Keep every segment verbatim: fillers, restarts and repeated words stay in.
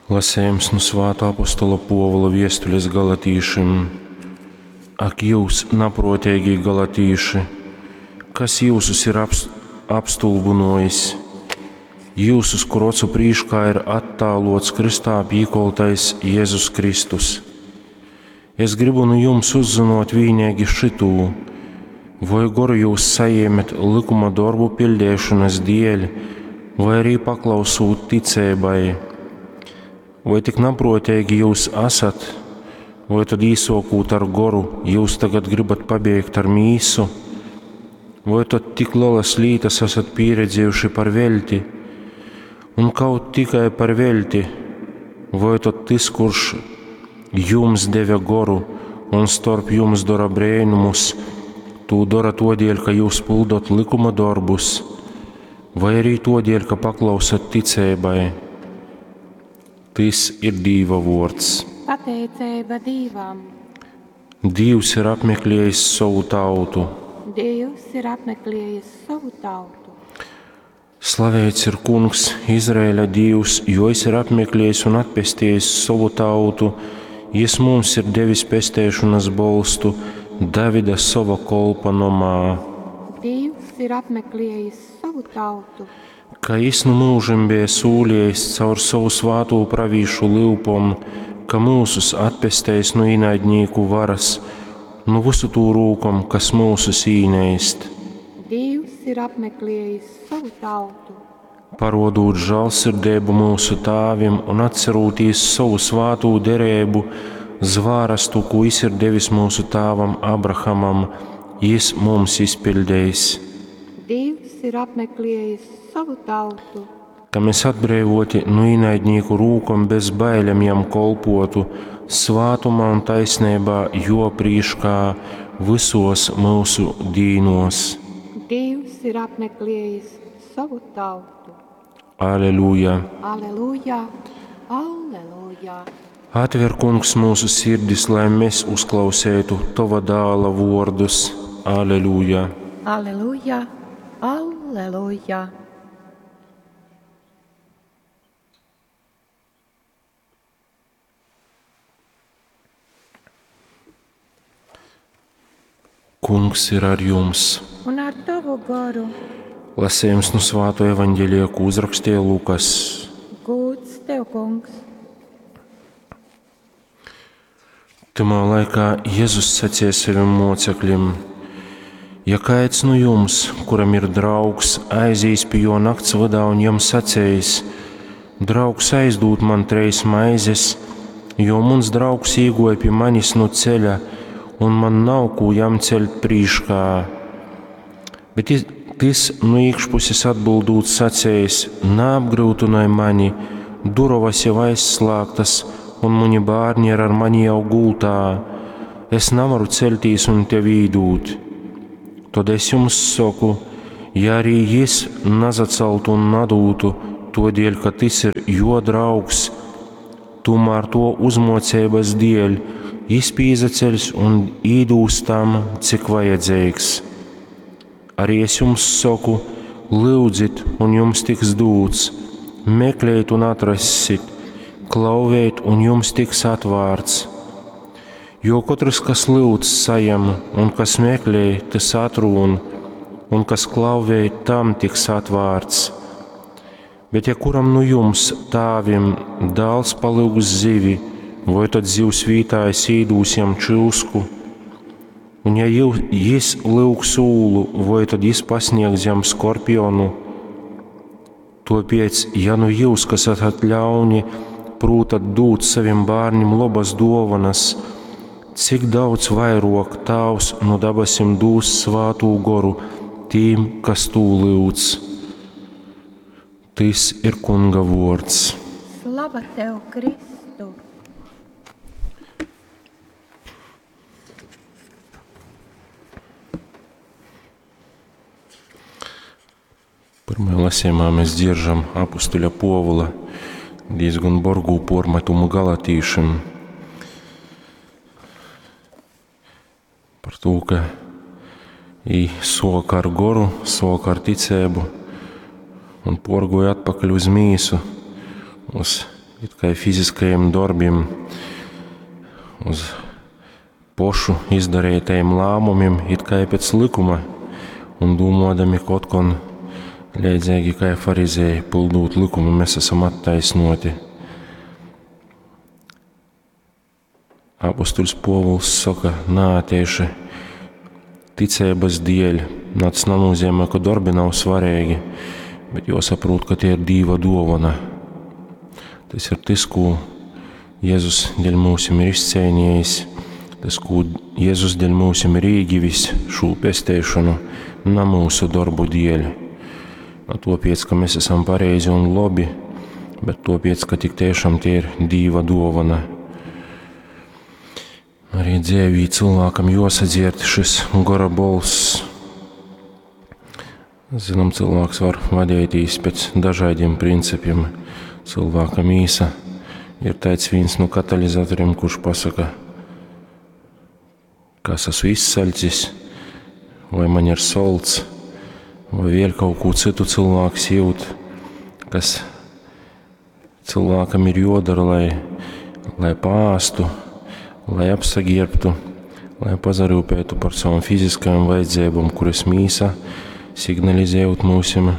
Lasējums nu Svātā apostola Puovula viestules galatīšim. Ak jūs, naprōteigī galatīši, kas jyusus ir apstulbynōjis? Jyusus, kur ocu prīškā ir attālōts krystā pīkoltais Jezus Kristus. Es grybu nu jums uzzynōt vīneigi šytū: voi goru jūs sajēmet lykuma dorbu piļdeišonas dēļ, vai arī paklausūt ticeibai? Voi tik naprōteigi jūs asat, voi tad īsōkūt ar goru, jūs tagad gribat pabeigt ar mīsu? Voi tad tik lelas lītas esat pieredzējuši par veļti? Un kaut tikai par veļti, voi tad tys, kurš jums deve goru un storp jums dora brēnumus, tū dora todēļ, ka jūs pildot likuma dorbus, vai arī todēļ, ka paklausat ticeibai? Tys ir Dīva vōrds. Pateiceiba Dīvam. Dīvs ir apmeklējis sovu tautu. Dievs ir apmeklējis sovu tautu. Slavēts ir Kungs, Izraēļa Dīvs, jo jis ir apmeklējis un atpestījis sovu tautu. Jis mums ir devis pesteišanas bolstu Davida sova kolpa nomā. Dievs ir apmeklējis savu tautu. Ka jis nu mūžim bija sūliejis caur savu svātū pravīšu lyupom, ka mūsus atpesteis nu īnaidnīku varas, nu visu tū rūkom, kas mūsus īneist. Dievs ir apmeklējis savu tautu. Parodūt žālsirdību mūsu tēvim un atcerūtīs savu svātū derību, zvārastu, ko jis ir devis mūsu tēvam Abrahamam, jis mums izpildījis. Dievs ir apmeklējis savu tautu. Ka mēs atbrīvoti no ienaidnieku rūkom bez bailēm jam kolpotu, svātumā un taisnībā jo prīškā visos mūsu dīnos. Dievs ir apmeklējis savu tautu. Aleluja! Aleluja! Aleluja! Atver, Kungs, mūsu sirdis, lai mēs uzklausētu Tava dāla vārdus. Aleluja! Aleluja! Aleluja! Kungs ir ar jums. Un ar tavu goru. Lasījums no Svāto evaņģēlija, ko uzrakstīja Lukas. Gūds tev, Kungs. Tamā laikā Jēzus sacīja saviem mocekļiem: Ja kāds no jums, kuram ir draugs, aizīs pie jo nakts vadā un jam sacējis: Draugs, aizdūd man treis maizes, jo mans draugs īgoja pie manis no ceļa, un man nav ko jam ceļt prīškā. Bet tis no iekšpuses atbildūt sacējis: Neapgrūtinoj mani, durovas jau aizslēgtas, un mani bērni ir ar mani jau gultā. Es nevaru celtīs un tev īdūt. Tad es jums saku, ja arī jis nazaceltu un nadūtu, todēļ, ka tas ir jo draugs, tomēr to uzmocības dēļ jis pīzaceļs un īdūs tam, cik vajadzīgs. Arī es jums saku, lūdzit, un jums tiks dūts, meklējiet un atrassit, klauvējiet, un jums tiks atvērts. Jo katrs, kas lūdz, sajem, un kas meklē, tas atrūn, un kas klauvē, tam tiks atvērts. Bet ja kuram nu jums, tēvim, dēls palūgs zivi, vai tad zivs vītā es īdūs jam čūsku? Un ja jis lūgs ūlu, vai tad jis pasniegs jam skorpionu? Tāpēc, ja nu jūs, kas esat ļauni, prūtat dūt saviem bērniem labas dovanas, cik daudz vairāk Tēvs no dabasim dūs svātū goru tīm, kas tū lūdz. Tis ir Kunga vārds. Slava tev, Kristu! Pirmajā lasījumā mēs dzirdam apustuļa Povula diezgan borgū pormetumu galatīšim par to, ka i soka ar goru, soka ar ticēbu un porgoja atpakaļ uz mīsu, uz it kai fiziskajiem dorbiem, uz pošu izdarītajiem lēmumiem, it kā pēc likuma, un domādami, ka otkon leidzīgi kā farizēji, pildot likumu, mēs esam attaisnoti. Apostuļs Povuls saka, nā, tieši ticības dēļ, nā, tas nenozīmē, ka darbi nav svarīgi, bet jāsaprot, ka tie ir Dīva dāvana. Tas ir tas, ko Jēzus dēļ mūsim ir izcīnījis, tas, ko Jēzus dēļ mūsim ir iegivis šo pesteišanu, na mūsu darbu dēļ. Na topiec, ka mēs esam pareizi un labi, bet topiec, ka tik tiešām tie ir Dīva dāvana. Arī dzīvī cilvēkam jāsadzierd šis gora bolss. Zinām, cilvēks var vadīties pēc dažādiem principiem. Cilvēka mīsa ir tāds viens no katalizatoriem, kurš pasaka, kas esmu izsaļcis, vai man ir solts, vai vēl kaut ko citu cilvēks jūt, kas cilvēkam ir jodara, lai, lai pāstu, lai apsagirbtu, lai pazarūpētu par savām fiziskajām vajadzībām, kuras mīsa signalizējot mūsim,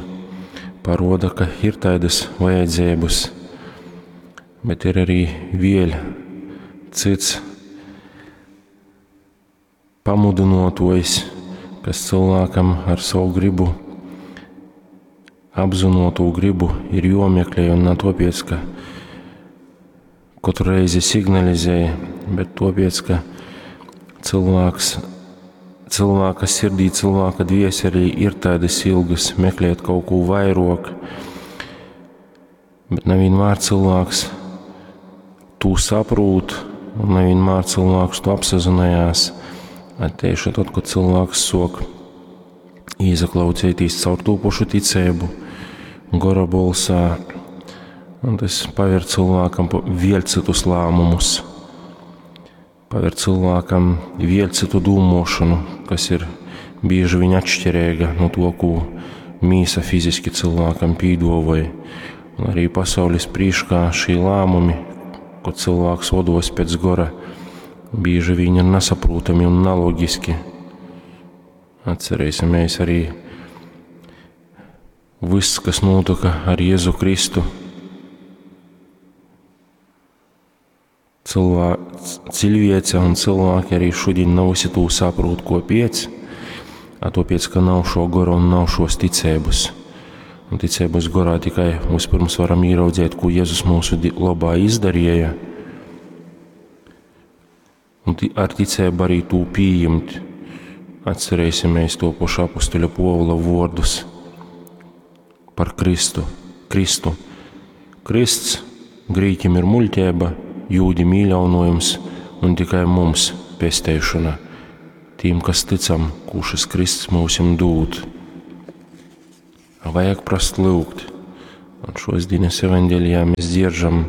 paroda, ka ir tādas vajadzības, bet ir arī vēl cits pamudinotojs, kas cilvēkam ar savu gribu, apzinoto gribu ir jomeklē un ne topiec, ka katru reizi signalizēja, bet topiec, ka cilvēks, cilvēka sirdī, cilvēka dvieselī ir tādas ilgas meklēt kaut ko vairāk, bet nevienmēr cilvēks to saprot un nevienmēr cilvēks to apsazinājās. Tieši tad, kad cilvēks sok īzaklausīties caur to pašu ticību, gora bolsā, un tas paver cilvēkam vēl citus lēmumus, paver cilvēkam vēl citu dūmošanu, kas ir bieži vien atšķirīga no to, ko mīsa fiziski cilvēkam pīdovoja. Un arī pasaules prīškā šī lēmumi, ko cilvēks vodos pēc gora, bieži vien ir nesaprotami un neloģiski. Atcerēsimies arī viss, kas notika ar Jēzu Kristu. Cilvē, cilvēce un cilvēki arī šodien nav visi to saprot, ko piec, a topiec, ka nav šo goru un nav šos ticības. Un ticības gorā tikai vispirms varam ieraudzīt, ko Jēzus mūsu labā izdarīja, un ar ticību arī to pieņemt. Atcerēsimies to pašu apustuļa Povula vārdus par Kristu. Kristu. Krists grīķim ir muļķība, jūdim īļaunojums un tikai mums pesteišana. Tīm, kas ticam, ko šis Kristus mūsim dūt. Vajag prast lūgt. Un šos dienas evaņģēlijā mēs dzieržam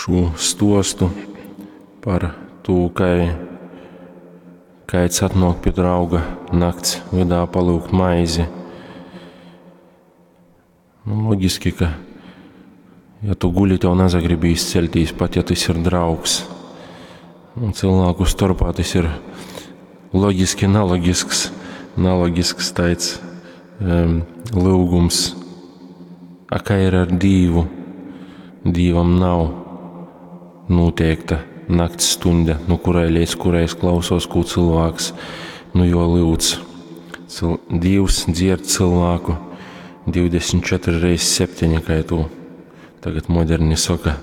šo stostu par to, kā kāds atnāk pie drauga nakts vidā palūgt maizi. Nu, loģiski, ka ja tu guļi, tev nezagribīs celtīs, pat ja tas ir draugs. Un cilvēku starpā tas ir loģiski naloģisks, naloģisks tāds um, lūgums. A kā ir ar Dīvu? Dīvam nav noteikta nakts stunda, no kurai līdz kurai es klausos, ko cilvēks nu jo lūdz. Cil Dievs dzird cilvēku divdesmit četri reiz septiņi, kā tu tagad moderni saka.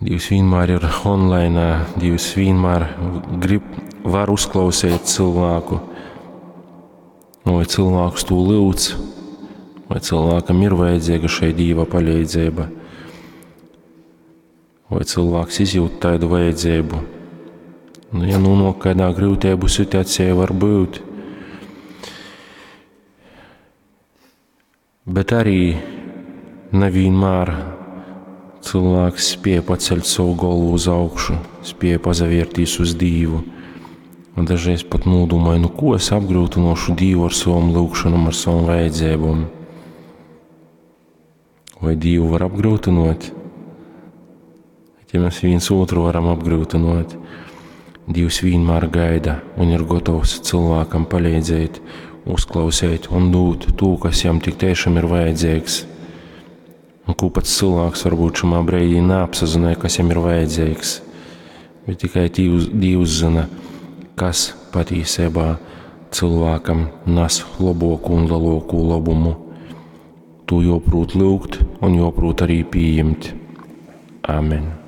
Dievs vienmēr ir online, Dievs vienmēr grib, var uzklausīt cilvēku. Vai cilvēks to lūdz, vai cilvēkam ir vajadzīga šai Dieva palīdzība, vai cilvēks izjūt tādu vajadzību. Nu, ja nonāk kādā grūtību situācijā, var būt. Bet arī nevienmēr cilvēks spēja paceļt savu galvu uz augšu, spēja pazavērtīs uz Dievu. Un dažreiz pat nodomāju, nu ko es apgrūtinošu Dievu ar savam lūgšanam, ar savam vajadzībām. Vai Dīvu var apgryutynōt? Ja mēs viens otru varam apgryutynōt, Dīvs vienmēr gaida un ir gotovs cilvēkam palīdzēt, uzklausīt un dūt to, kas jam tik tiešām ir vajadzīgs. Un ko pats cilvēks varbūt šajā brīdī neapsazināja, kas jam ir vajadzīgs. Bet tikai Dīvs, Dīvs zina, kas patiesībā cilvēkam nes labāko un lielāko labumu. To joprūt lūgt un joprūt arī pieņemt. Amen.